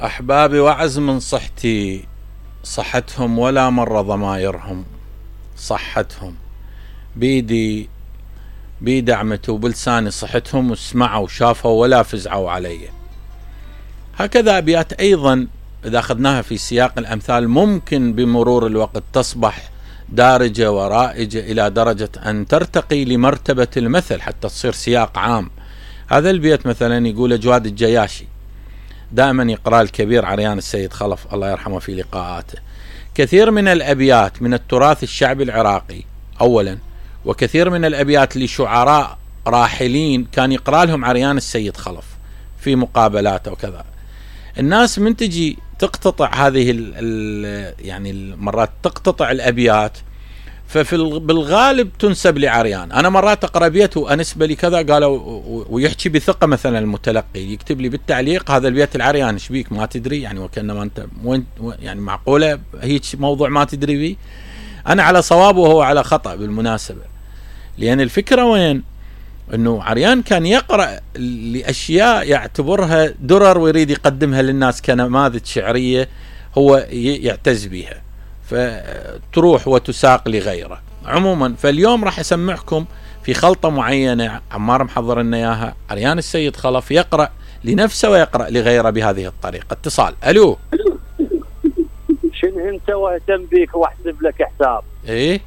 أحبابي وعز من صحتي، صحتهم ولا مرة ضمايرهم، صحتهم بيدي عمته وبلساني صحتهم، وسمعوا وشافوا ولا فزعوا علي. هكذا أبيات أيضا إذا أخذناها في سياق الأمثال ممكن بمرور الوقت تصبح دارجة ورائجة إلى درجة أن ترتقي لمرتبة المثل حتى تصير سياق عام. هذا البيت مثلا يقول جواد الجياشي، دائما يقرأ الكبير عريان السيد خلف الله يرحمه في لقاءاته: كثير من الأبيات من التراث الشعبي العراقي أولا، وكثير من الأبيات لشعراء راحلين كان يقرأ لهم عريان السيد خلف في مقابلاته وكذا. الناس من تجي تقتطع هذه يعني مرات تقتطع الأبيات، بالغالب تنسب لعريان. أنا مرات أقرأ بيت وأنسب لي كذا قالوا، ويحكي بثقة مثلا المتلقي يكتب لي بالتعليق هذا البيت العريان، ايش بيك ما تدري يعني، وكأنما أنت وين يعني، معقولة هيك موضوع ما تدري بيه؟ أنا على صواب وهو على خطأ بالمناسبة، لأن الفكرة وين؟ أنه عريان كان يقرأ لأشياء يعتبرها درر ويريد يقدمها للناس كنماذج شعرية هو يعتز بها، فتروح وتساق لغيره. عموما فاليوم راح أسمعكم في خلطة معينة عمار محضر لنا إياها، عريان السيد خلف يقرأ لنفسه ويقرأ لغيره بهذه الطريقة. اتصال. ألو، شنو انت واهتم بيك واحسب لك حساب؟ ايه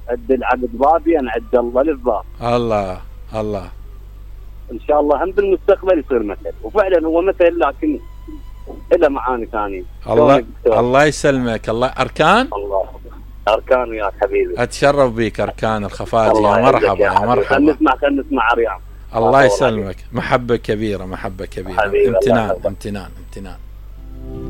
عد العقد بابي انا عد الله للباب. الله الله، ان شاء الله هم بالمستقبل يصير مثل، وفعلا هو مثل لكن له معاني ثانيه. الله يسلمك. الله أركان، الله أركان وياك حبيبي، أتشرف بيك أركان الخفاجي. يا مرحبا يا مرحبا. خلينا نسمع عريان. الله يسلمك. محبة كبيرة، محبة كبيرة. امتنان امتنان امتنان.